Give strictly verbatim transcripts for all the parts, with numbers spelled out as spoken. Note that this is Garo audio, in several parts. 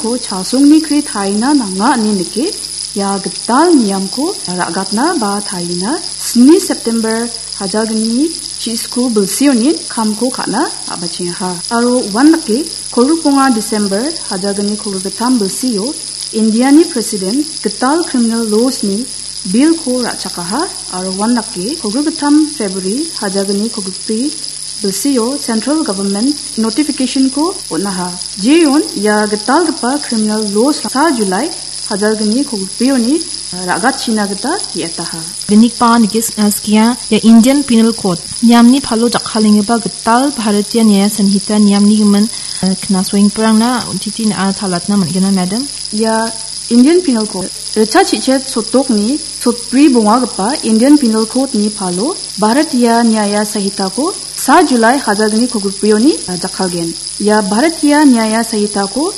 Ko chasongni kre taina nanga ine nike, ia gital niamko ra·gatna ba taina sni September hajalgni chisku bilsionin kamko ka·na a·bachengaha. Aro uandake kolgrikbonga December hajalgni kolgrikgittam bilsio Indiani President gital criminal laws-ni bill-ko ra·chakaha aro uandake kolgrikgittam February hajalgni kolgrikbri bilsio central government notification-ko on·aha. Jeon ia gitalgipa criminal laws sa July hajalgni kolgrikbrioni ra·gatchina gita ge·etaha. Nikba nikis, eh, skia ia Indian Penal Code niamni palo jakkalenggipa gital Bharatiya Nyaya Sanhita niamni gimin, eh, knasoengprangna untiti na·a talatna man·gina, madam? Ia Indian Penal Code richa chichet sotokni sotbri bongagipa Indian Penal Code-ni palo Bharatiya Nyaya Sanhita-ko sa July hajalgni kolgrikbrioni, ah, jakkalgen. Ia Bharatiya Nyaya Sanhita-ko,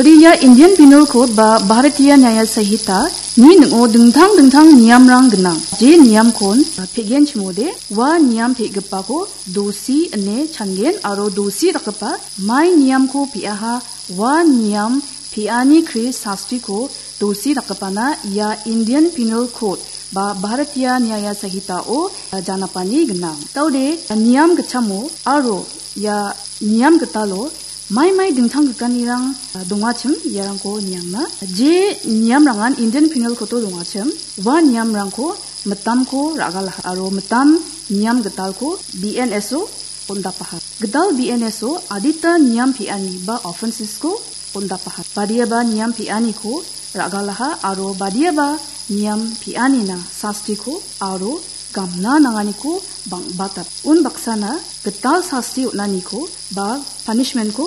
ri ia Indian Penal Code ba Bharatiya Nyaya Sanhita-ni ning·o dingtang dingtang niamrang gnang. Je niamkon, ah, pe·genchimode, ua niam pe·gipako dosi ine changen aro dosi dakgipa mai niamko pe·aha, ua niam pe·ani kre sastiko dosi dakgipana ia Indian Penal Code ba Bharatiya Nyaya Sanhita-o, ah, janapani gnang. Daode, ah, niam gitchamo aro ia niam gitalo mai mai dingtang gikanirang, ah, dongachim iarangko niangna. Je niamrangan Indian Penal Code-o dongachim, ua niamrangko mitamko ra·galaha aro mitam niam gitalko B N S-o on·dapaha. Gital B N S-o adita niam pe·ani ba offenses-ko on·dapaha. Badiaba niam pe·aniko ra·galaha aro badiaba niam pe·anina sastiko aro gamna nanganiko bang·batap. Unbaksana gital sasti on·aniko ba punishment-ko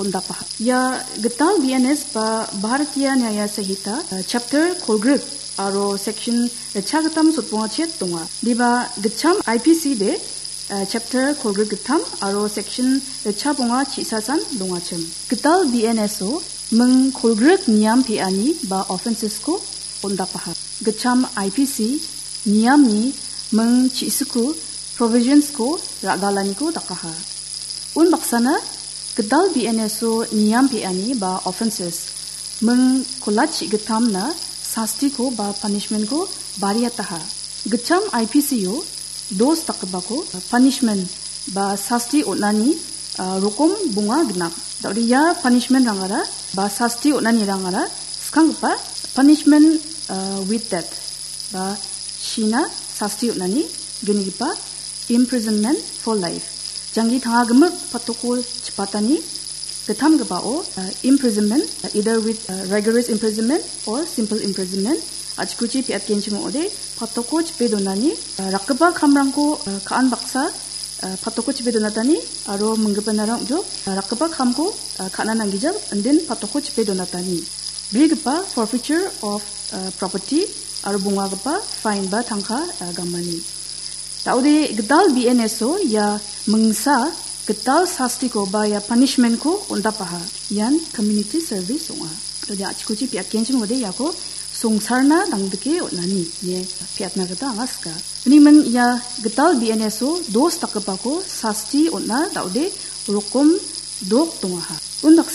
on·dapaha. Ia gital B N S ba Bharatiya Nyaya Sanhita, eh, chapter kolgrik aro section ritchagittam sotbonga chet donga. Diba gitcham I P C de, eh, chapter kolgrik gittam aro section ritchabonga chisasan dongachim. Gital B N S-o ming kolgrik niam pe·ani ba offenses-ko on·dapaha. Gitcham I P C niamni ming chisiko provisions-ko ra·galaniko dakaha. Unbaksana gital B N S-o niam pe·ani ba offenses ming kolat chi·gittamna sastiko ba punishment-ko bariataha. Gitcham I P C-o dos dakgipako punishment ba sasti on·ani, ah, rokom bonga gnang. Daode ia punishment-rangara ba sasti on·anirangara skanggipa punishment, ah, with death ba sina sasti on·ani gnigipa imprisonment for life. Janggi tangagimik patoko chipatani gittamgipao, uh, imprisonment, uh, either with, uh, rigorous imprisonment or simple imprisonment. Achikuchi piatgenchim ong·ode patoko chipe donani, uh, rakgipa kamrangko, uh, ka·an baksa, uh, patoko chipe donatani aro minggipanara ong·jo, uh, rakgipa kamko, uh, ka·na nanggija indin patoko chipe donatani. Brigipa forfeiture of, uh, property aro bongagipa fine ba tangka, uh, gamani. Daode gital B N S-o ia mingsa gital sastiko ba ia punishment-ko on·dapaha. Ian community service ong·a. Daode achikuchi piatgenchim ong·ode iako songsarna dangdike on·ani ine piatna gita anga sika. Unimin ia gital B N S-o dos dakgipako sasti on·a daode rokom dok dongaha. Undak